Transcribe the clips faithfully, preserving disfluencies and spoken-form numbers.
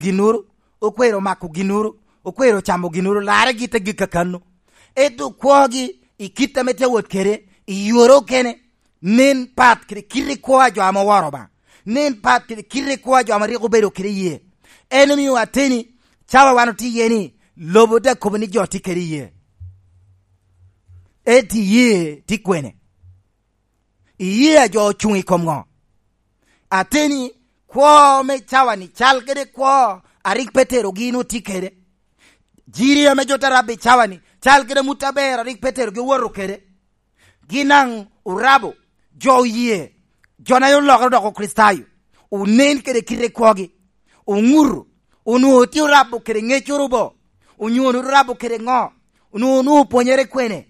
ginnoro, okwero mako ginnoro, okwero camo ginnoro, larre gite gik kakano. Ento kwogi i kit ame tye awot kede, i yore okene, nen pat kede kit i kwo a jo ame oworo Obaŋa, nen pat kede kit i kwo a jo ame rik obedo kede ye. En omio ateni, cawa wan otye iye ni, lobo te kobo ni jo tye kede ye. Eti ye tye kwene? Iyee a jo ocuŋ i kom ŋo? Ateni, kwo me cawa-ni cal kede kwo a rik Petero gin otye kede. Jiri ame jo te rabo i cawa-ni cal kede amut aber a rik Petero gi owoto kede. Gin daŋ orabo, jo oye, jo na olokere odoko Kricitayo, onen kede kite kwogi, oŋuto, onwoŋo tye orabo kede ŋeccoro bo, onyo onwoŋo orabo kede ŋo, onwoŋo onwoŋo opwonyere kwene.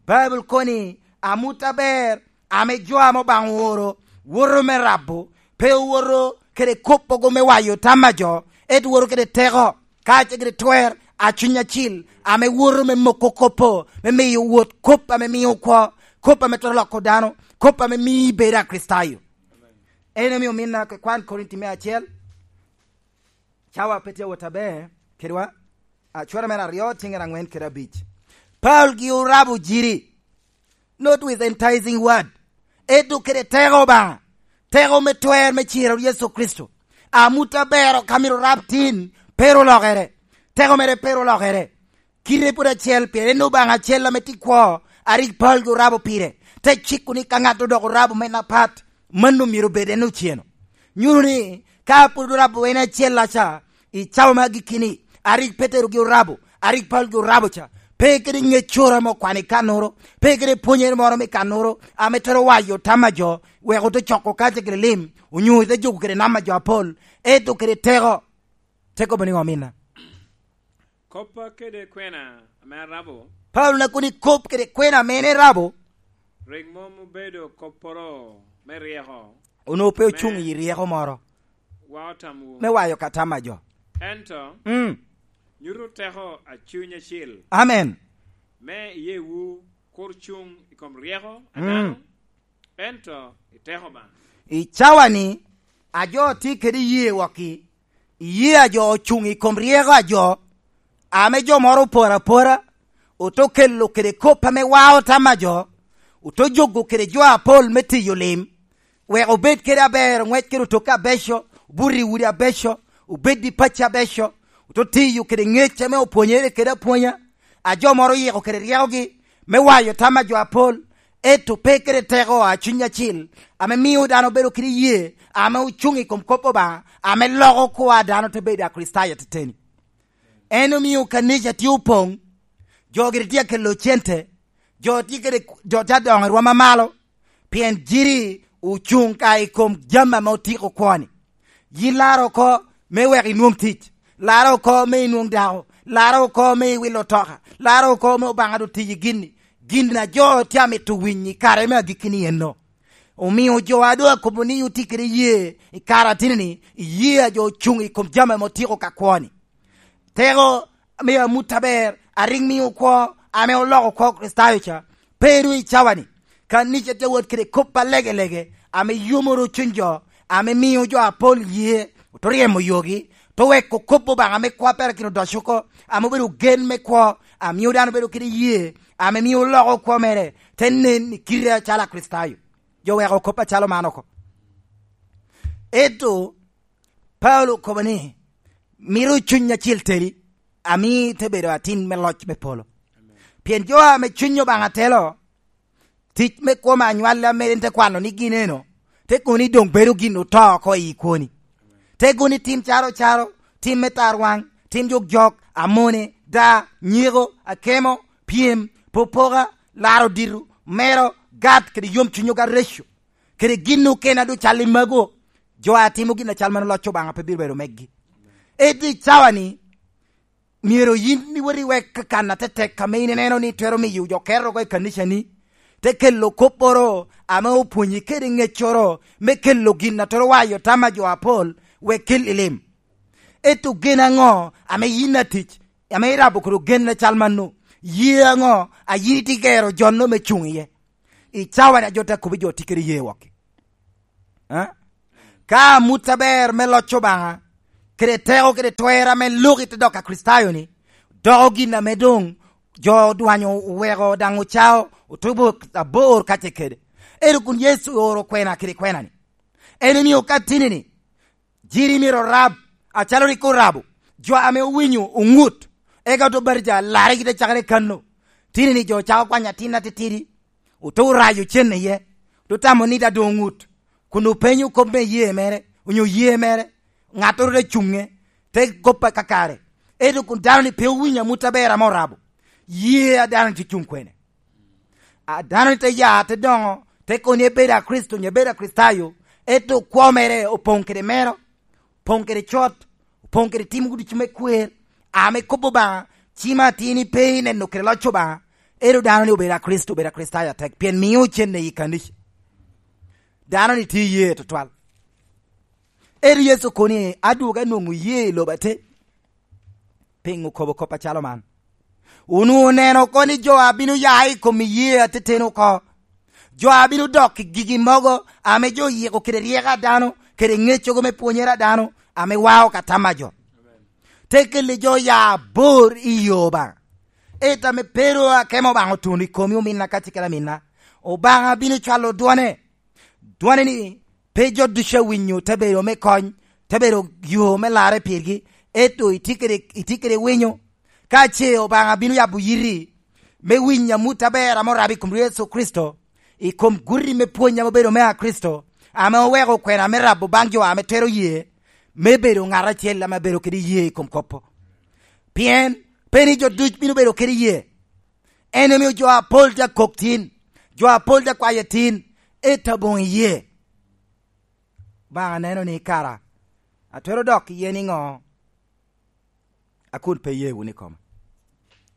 Baibul kono ni, amut aber ame jo ame Obaŋa ooro woto me rabo, pe owoto kede kop ogo me wayo tam a jo, ento woto kede teko, kacel kede twer a Cuny Acil, ame woto me moko kop-po, me miyo wot kop ame mio kwo, kop ame twero loko dano, kop ame mio ibedo Akricitayo. En omio ominna kwan Korinti me acel, cawa pe tye awot aber kedwa, acwara mere aryo, tiŋere aŋwen kede abic. Paulo gi orabo jiri, not with enticing word, ento kede teko Obaŋa, teko me twer me ciro Yecu Kricito. Amut aber ka myero orab tin, pe ru olokere. Teko mere pe ru olokere. Kite pwod acel, pien en Obaŋa acel ame tye kwo, a rik Paulo gi orabo pire, te ciko ni ka ŋat odoko orabo men apat, mano myero obed en oceno. Nyuto ni, ka pwod orabo en acel-la ca, i cawa me agikki-ni, a rik Petero gi orabo, a rik Paulo gi orabo ca, pe kede ŋeccoro ame okwano i kannoro, pe kede pwonyere moro me kannoro, ame twero wayo tam a jo, wek ote coko kacel kede lim, onyo ote jogo kede nam a jo apol, ento kede teko. Te kobo niŋo, ominna? Koppa kede kwena ame arabo. Paulo na kono i kop kede kwena ame en erabo. Rik mom obedo kopporo me ryeko. Onwoŋo pe ocuŋ i ryeko moro. Wa otamwu. Me wayo ka tam a jo. Ento, mm, nyuto teko a Cuny Acil. Amen. Me iyeewu kur cuŋ i kom ryeko a, mm, dano, ento i teko Obaŋa. I cawa-ni, a jo tye kede iyee wokki, iyee a jo ocuŋ i kom ryeko a jo, ame jo moro oporo apora, ote kelo kede kop ame wao tam a jo, ote jogo kede jo apol me tiyo lim, wek obed kede aber, oŋwec kede otokke abeco, obuto i udi abeco, obed i pacci abeco, ote tiyo kede ŋec ame opwonyere kede apwonya, a jo moro oyiko kede ryekogi me wayo tam a jo apol, ento pe kede teko a Cuny Acil, ame mio dano bedo kede iyee, ame ocuŋ i kom kop Obaŋa, ame loko kwo a dano te bedo Akricitayo ateteni. En omio kanica tye opoŋ, jo gire tye akelo cente, jo tye kede, jo tye adoŋo i rwom amalo, pien jiri ocuŋ ka i kom jami ame otiko kwo-ni. Yin laro oko me wek inwoŋ tic, laro oko me inwoŋ dako, laro oko me iwilo otoka, laro oko me Obaŋa doŋ tiyi gin-ni. Gin a jo tye amito winyo i kare me agikki-ni enno. Omio jo a doŋ akobo ni otye kede iyee i kare ateni-ni, iyee a jo ocuŋ i kom jami ame otiko ka kwo-ni. Teko me amut aber a rik mio kwo ame oloko kwo Kricitayo ca, pe ru i cawa-ni. Kanica tye awot kede kop alegelege ame yomoro cuny jo, ame mio jo apol ye, ote ryemo yogi, ote weko kop Obaŋa ame kwo a perakino odoco oko, ame obedo gen me kwo, a mio dano bedo kede ye, ame mio oloko kwo mere, te nen i kite acalo Akricitayo. Jo weko kop acalo man oko. Ento Paulo okobo ni, mito Cuny Acil teli, ami te bedo atin me loc me polo. Pien jo ame Cuny Obaŋa telo, tic me kwo me anywalli ame en te kwano ni gin eno, te kono ni doŋ bedo gin oto oko i kwoni. Te kono ni tim caro caro, tim me tarwaŋ, tim jok jok, amone, da, nyeko, akemo, pyem, popoka, laro dito, mero, gat, kede yom cuny oga reco, kede gin okene a doŋ cal i mago, jo a timo gin acal mano loc Obaŋa pe bino bedo megi. Ento i cawa-ni, myero yin iwot iwek kan atetek ame in ineno ni twero miyo jo keto oko i kanicani, te kelo kopporo ame opwonyi kede ŋeccoro me kelo gin a twero wayo tam a jo apol, wek kel i lim. Ento gen aŋo ame yin atic, ame irabo kede gen acal mano? Ye aŋo a yin itye gero jo-no me cuŋ iye? I cawa-ni a jo te kobo jo tye kede ye wokki. Eh? Ka amut aber me loc Obaŋa, kede teko kede twer ame lok i te dok a Kricitayo-ni, doko gin ame doŋ jo odwanyo oweko daŋ ocao otubo abor kacel kede. Ento kun Yecu oro kwena kede kwena-ni, en omio ka tini-ni, jiri myero orab, acalo rik orabo, jo ame owinyo oŋut, eka ote batija larre kite cakere kanno. Tini-ni jo cako kwanyo atin atitidi, ote orayo cen iye, ote tamo ni daŋ doŋ oŋut, kun openyo kop me iyee mere, onyo iyee mere, ŋattoro te cuŋe, te kop akakare. Ento kun dano-ni pe owinyo amut aber ame orabo, iyee a dano-ni te cuŋ kwene? A dano-ni te ya, te doŋo, te kono ni ebedo a Kricito, onyo ebedo a Kricitayo, ento kwo mere opoŋ kede mero, opoŋ kede cot, opoŋ kede timo ducu me kwer, ame kop Obaŋa, cima atin-ni pe ineno kede loc Obaŋa, ento dano-ni obedo a Kricito, obedo a Kricitayo atek, pien mio cen i kanica. Dano-ni tye iye tutwal. Ento Yecu okobo ni, "Adwogo anwoŋo iyee i lobo atek." Piŋo okobo kop acalo man? Onwoŋo oneno oko ni jo a bino ya i kom iyee ateteni oko, jo a bino dok i gigi mogo ame jo oyiko kede ryeko a dano, kede ŋeccogo me pwonyere a dano, ame wao ka tam a jo. Te kelle jo ya abor i yo Obaŋa. Ento ame pero akemo Obaŋa otuno i komi ominna kacel kede aminna, Obaŋa bino cwalo dwone. Dwone ni pe jo ducu a winyo te bedo me kony, te bedo yo me larre pirgi, ento itye kede, itye kede winyo. Ka ce Obaŋa bino yabo yiti me winyo amut aber ame orabo i kom Yecu Kricito, i kom guti me pwony ame obedo me a Kricito, ame oweko kwena me rabo baŋ jo ame twero ye, me bedo ŋat acel ame bedo kede ye i kom kop-pu. Pien pe ni jo duc bino bedo kede ye. En omio jo apol te akok tin, jo apol te akwayo tin, ento aboŋo iyee. Obaŋa neno ni kara atwero dok iye niŋo? A kun pe iye wunu i koma.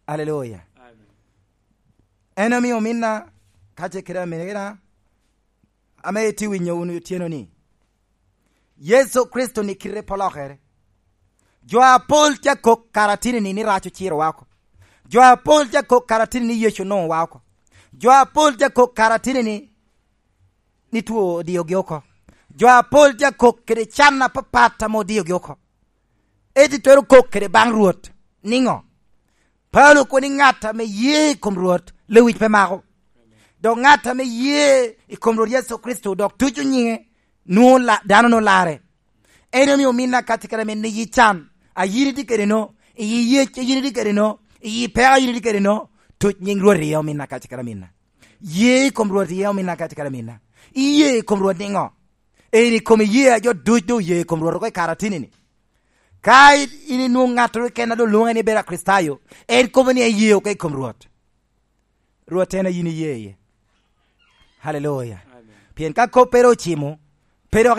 Aleluya. Amen. En omio ominna, ka ce kede aminina, ame itye winyo wunu otyeno ni, Yecu Kricito ni kite pe olokere. Jo apol tye akok karatini-ni ni rac ociro wa oko. Jo apol tye akok karatini-ni Yecu onwoŋo wa oko. Jo apol tye akok karatini-ni, ni two odiogi oko. Jo apol tye akok kede can apapat ame odiogi oko. Ento itwero kok kede baŋ Rwot niŋo? Paulo okobo ni ŋat ame ye i kom Rwot lewic pe mako. Dok ŋat ame ye i kom Rwot Yecu Kricito dok tuco nyiŋe, nwoŋo la-, dano nwoŋo larre. En omio ominna kacel kede amin ni iyi can a yin itye kede no, iyi yec a yin itye kede no, iyi peko a yin itye kede no, tuc nyiŋ Rwot iye ominna kacel kede aminna. Ye i kom Rwot iye ominna kacel kede aminna. Iye i kom Rwot niŋo? En i kom iye a jo duc doŋ oye i kom Rwot oko i karatini-ni. Ka i-, in inwoŋo ŋattoro keken a doŋ lwoŋe ni bedo Akricitayo, en kobo ni eye oko i kom Rwot. Rwot en a yin iye iye. Haleluya. Amen. Pien ka koppere ocimo, pe dok